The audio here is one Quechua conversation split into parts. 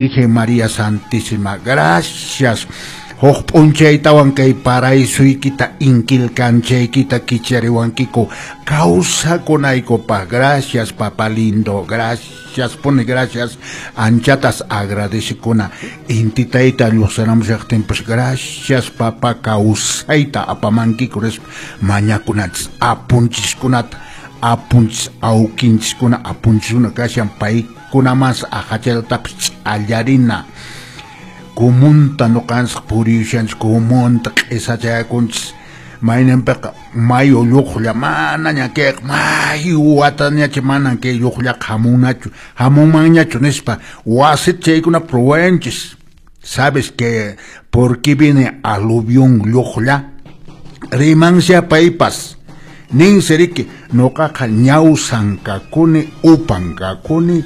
Virgen María Santísima, gracias. Huk p'unchaytawan kay paraisuykita inkilkanchaykita kichariwankiku kawsakunaykupaq. Gracias, papá lindo, gracias, pone gracias. Anchatas agradecikuna. Intitayta lluqsaramushaqtinpas gracias, papá, kawsayta apamankiku nispa mañakunanchis apunchiskunata, apunchis awkinchiskuna, apunchiskuna kashan paykunamas aqachalatapas ch'allarina. Kumunta nuqanchis puriyushanchis, kumunta q'isachakunchis, mayninpiqa mayu lluqlla manaña kayqa mayu watañachi manan kay lluqllaqa hamunnachu, hamunmanñachu nispa wasita chaykuna ruwayanchis. ¿Sabes que por qué viene aluvión lluqlla? Rimansya paypas. Ninsi riki nuqaqa ñawsan kakuni, upan kakuni,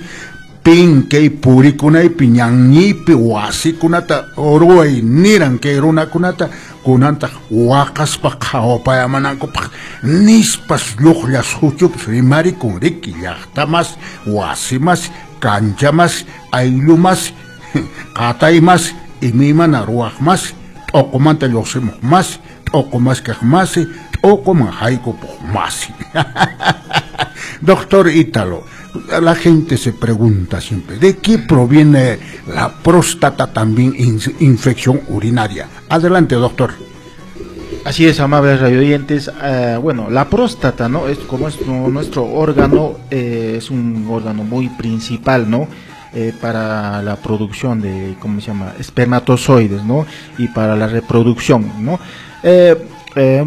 pin kay purikunaypi ñanñiypi wasikunata ruway niran kay runakunata kunantaq waqaspa qhawapayamanankupaq nispas lluqlla suchupas rimarikun riki llaqtamas, wasimas, kanchamas, ayllumas, qataymas, imaymana ruwaqmas, t'uqumanta lluqsimuq mas, t'uqumas kaq masi, t'uquman haykupuq masi. Doctor Ítalo, la gente se pregunta siempre, ¿de qué proviene la próstata también infección urinaria? Adelante, doctor. Así es, amables radioyentes. Bueno, la próstata, ¿no? Es como es nuestro órgano, es un órgano muy principal, ¿no? Para la producción de, ¿cómo se llama? Espermatozoides, ¿no? Y para la reproducción, ¿no?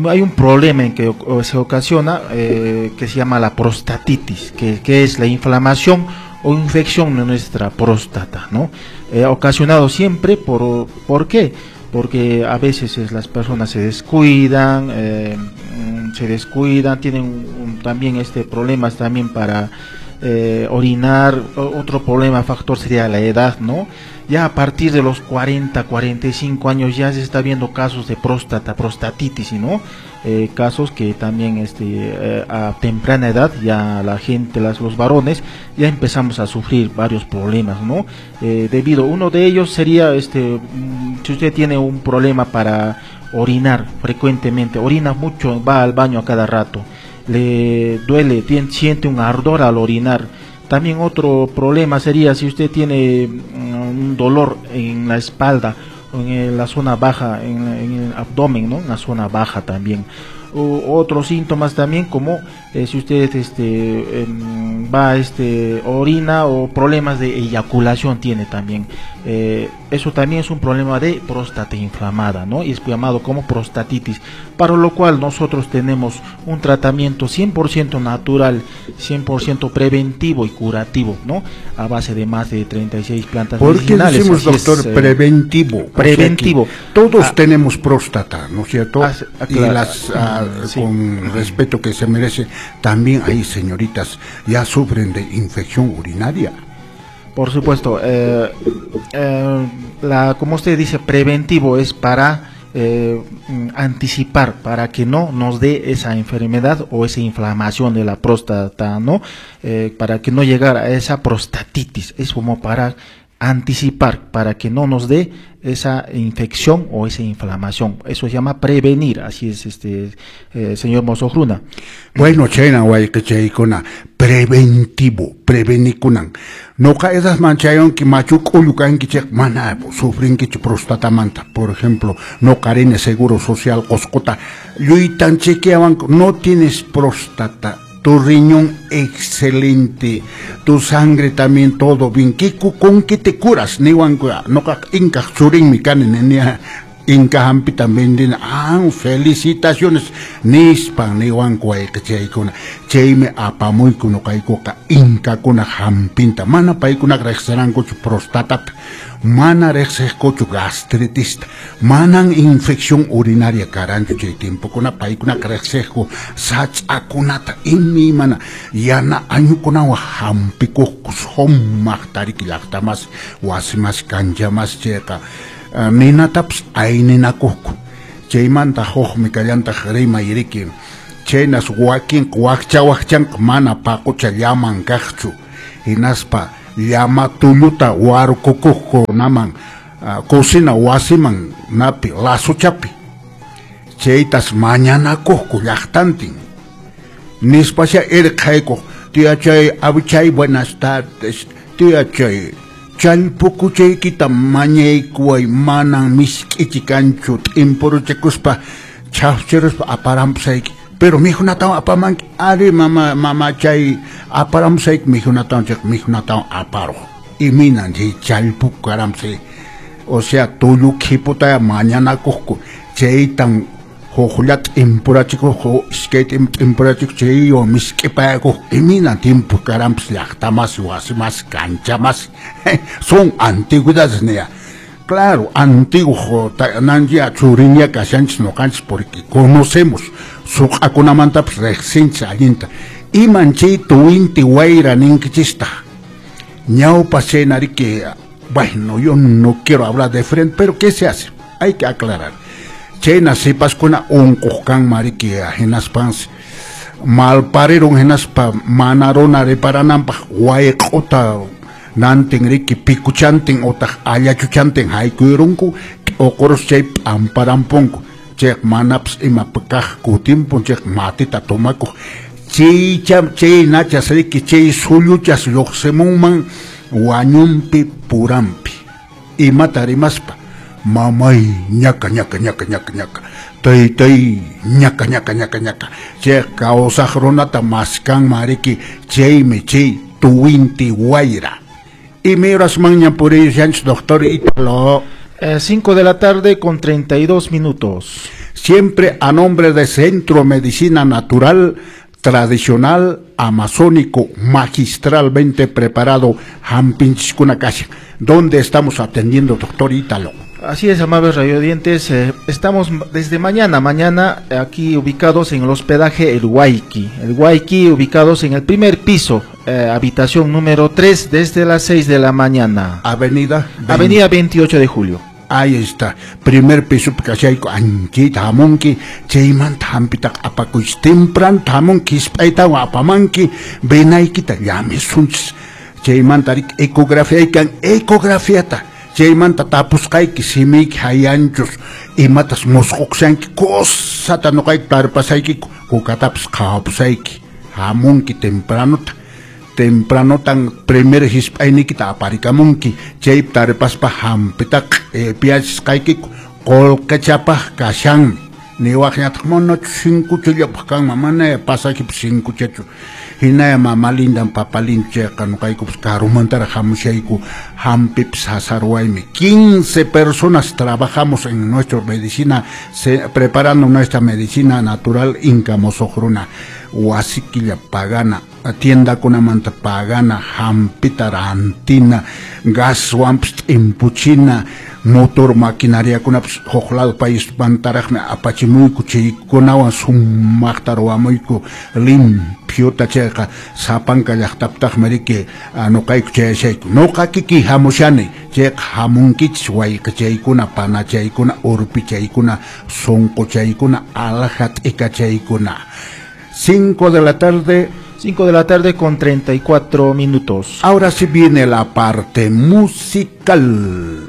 Hay un problema en que se ocasiona que se llama la prostatitis, que es la inflamación o infección de nuestra próstata, ¿no? Ocasionado siempre ¿por qué? Porque a veces las personas se descuidan, tienen también problemas también para orinar. Otro problema, factor sería la edad, ¿no? Ya a partir de los 40, 45 años ya se está viendo casos de próstata, prostatitis, ¿no? Casos que también a temprana edad ya la gente, los varones, ya empezamos a sufrir varios problemas, ¿no? Debido, uno de ellos sería, si usted tiene un problema para orinar frecuentemente, orina mucho, va al baño a cada rato, le duele, siente un ardor al orinar. También otro problema sería si usted tiene un dolor en la espalda o en la zona baja, en el abdomen, ¿no? En la zona baja también. Otros síntomas también como si usted va, orina o problemas de eyaculación tiene también. Eso también es un problema de próstata inflamada, ¿no? Y es llamado como prostatitis, para lo cual nosotros tenemos un tratamiento 100% natural, 100% preventivo y curativo, ¿no? A base de más de 36 plantas medicinales. ¿Por qué decimos, doctor, preventivo? Preventivo. O sea que todos tenemos próstata, ¿no es cierto? Y las sí. Con respeto que se merece, también hay señoritas ya sufren de infección urinaria. Por supuesto, como usted dice, preventivo es para anticipar, para que no nos dé esa enfermedad o esa inflamación de la próstata, ¿no? Para que no llegara a esa prostatitis, es como para anticipar, para que no nos dé esa infección o esa inflamación. Eso se llama prevenir, así es, señor Mosojruna. Bueno, chayna wayqichaykuna, preventivo, prevenikunan. Noqa esas manchayonki machu k'ullu kanki chayqa mana sufrinkichu prostatamanta. Por ejemplo, noqa rini seguro social Qosqota lluytan chequeawanku, no tienes próstata, tu riñón excelente, tu sangre también todo bien. ¿Qué, con qué te curas? Niwanku, noqa inkaq churinmi kani, nenia inka hampita vendina. Ah, felicitaciones. Nispan niwanku wayqichaykuna. Chaymi apamuyku noqaykuqa inkakuna hampinta. Mana paykunaqa riqsirankuchu prostatata, mana riqsiqkuchu gastritista, manan infección urinaria karanchu chay tiempokuna, paykunaqa riqsiqku sach'akunata imaymana yana añukunawan hampikuqku sumaq tariki llaqtamas, wasimas, kanchamas chayqa ninatapas ayninakuqku. Chaymanta hukmi kallantaq rimay riki, chaynas wakinqa wakcha wakchanqa mana paqucha llaman kaqchu, hinaspa llama tulluta warkukuqkunaman cocina wasiman napi lazuchapi chaytas mañanakuqku llaqtantin nispasha irqaykuq tiyachay abichay buenas tardes tiyachay challpukuchaykita mañaykuway manan misk'ichi kanchu t'impuruchakuspa chhafchiruspa aparampusayki pero mijunatawan apamanki ari mama mamachay aparamusayki mijunatawan chayqa mijunatawan aparuq iminan chay challpuku karampusay o sea tullu qhiputaya mañanakuqku chaytan huklla t'impurachikuq iskay t'impurachikuq chaywan misk'ipayakuq iminan tiempo karampis llaqtamasi wasimasi kanchamasi son antigüedades niya. Claro, antiguo nanya churiña kashanchis noqanchis porque conocemos suq'akunamantapas riqsinchis allinta iman chay tuwinti wayra ninkichista ñawpa chaynariki. Bueno, yo no quiero hablar de frente, pero ¿qué se hace? Hay que aclarar. Chayna sipaskuna unquq kanman riki hinaspansi malparirun hinaspa mana runa riparananpaq wayq'uta nantin riki pikuchantin otaq allachuchantin haykuyurunku t'uqurus chay p'amparampunku chayqa manapas ima kaq kutimpun chayqa matita tomakuq chaycha chay nachas riki chay sulluchas lluqsimunman wañunpi puranpi imata rimaspa mamay ñaka ñaka ñaka ñaka ñaka taytay ñaka ñaka ñaka ñaka chay kawsaq runata maskanman riki chaymi chay tuwinti wayra. Imay puriyushanchis doctor Ítalo. 5 de la tarde con 32 minutos. Siempre a nombre de Centro Medicina Natural Tradicional Amazónico magistralmente preparado hampinchiskuna kashan. ¿Dónde estamos atendiendo, doctor Ítalo? Así es, amables radiodientes, estamos desde mañana aquí ubicados en el hospedaje El Huayqui. El Huayqui, ubicados en el primer piso, habitación número 3, desde las 6 de la mañana. Avenida 28 de Julio. Ahí está, primer piso kashayku anchita hamunki, chaymanta hampitaqa apakuychis, temprano hamunki, hisp'aytawan apamanki, venaykita llamisunchis, chaymanta riki ecografía ecografiata, chaymanta tapusqayki simiyki hayanchus, imatas musq'uqshanki, cosata nuqayki tarpasaykiku, kukatapas qhawapusayki, hamunki tempranota. Tempranotan primer hisp'ayniykita aparikamunki chaypi taripaspa hampitaqa piyachisqaykiku qullqichapaq kashanmi niwaqñataq manachu sinkuchallapaq kanman manaya pasakipas sinkuchachu hinaya mama lindan papa lindo chayqa nuqaykupas karumantaraq hamushayku hampipas sasaruwaymi. 15 personas trabajamos en nuestra medicina, preparando nuestra medicina natural inca mosuq runa wasikilla pagana tiendakunamanta pagana hampita rantina gaswanpas t'impuchina motor maquinariakunapas huk lado paismantaraqmi apachimuyku chaykunawan sumaqta ruwamuyku limpiota chayqa sapanka llaqtaptaqmi riki nuqayku chayashayku nuqa kikiy hamushani chayqa hamunkichis wayqichaykuna panachaykuna urpichaykuna sunquchaykuna alhaja t'ikachaykuna. 5 de la tarde. 5 de la tarde con 34 minutos. Ahora sí viene la parte musical.